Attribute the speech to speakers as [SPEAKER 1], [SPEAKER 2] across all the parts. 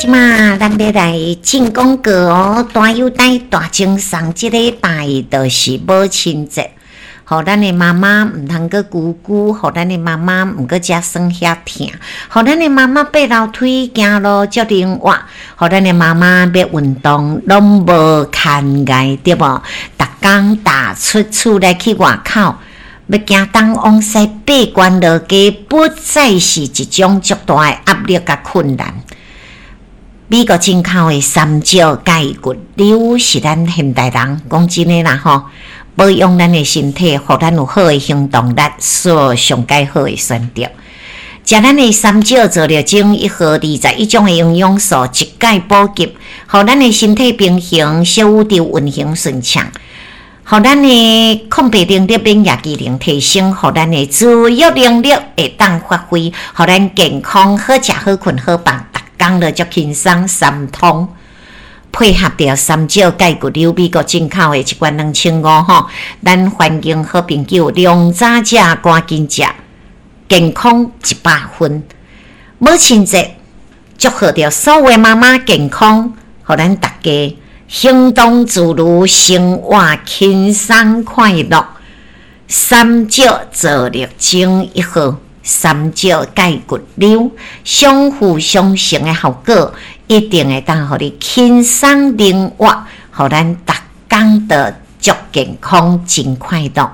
[SPEAKER 1] 這馬咱欲來進廣告哦，大優待大贈送，這禮拜就是母親節，予咱的媽媽毋通閣孤孤，予咱的媽媽毋閣遮酸遐疼，予咱的媽媽爬樓梯行路足靈活，予咱的媽媽欲運動攏無牽礙，對無？逐工踏出厝內去外口，欲行東往西爬懸落低，不再是一種足大的壓力佮困難。美國進口的三石鈣骨溜是咱現代人講真的啦吼，保養咱的身體，予咱有好的行動力，所上蓋好的選擇。食咱的三石造粒精一盒21種的營養素，一概補給，予咱的身體平衡，小宇宙運行順暢，予咱的抗病能力、免疫機能提升，予咱的自愈能力會當發揮，予咱健康好食好睏好放。逐工就足輕鬆三通，配合著三石鈣骨溜美國進口的一罐2500吼，咱歡迎好朋友量早食趕緊食，健康100分。母親節祝賀著所有媽媽健康，予咱大家行動自如，生活輕鬆快樂。三石造粒精一盒。三石鈣骨溜相輔相成的效果，一定會當予你輕鬆靈活，予咱逐工都足健康、真快樂。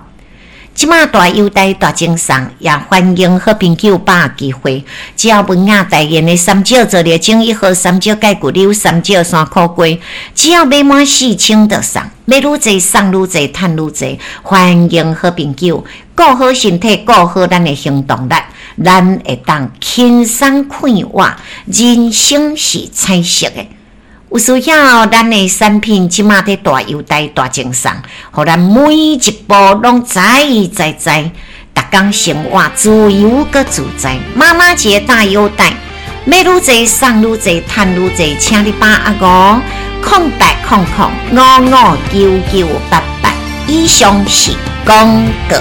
[SPEAKER 1] 這馬大優待大贈送，也歡迎好朋友把握機會。只要文雅代言的三石造粒精一盒，三石鈣骨溜，三石山苦瓜，只要買滿4000就送，買愈濟送愈濟，趁愈濟。歡迎好朋友顧好身體，顧好咱的行動力，咱會當輕鬆快活，人生是彩色的。有需要咱的產品，這馬佇大優待大贈送，予咱每一步攏知知知，逐工生活自由閣自在。媽媽節大優待，買愈濟送愈濟，趁愈濟，請你把握哦！0800559988，以上是廣告。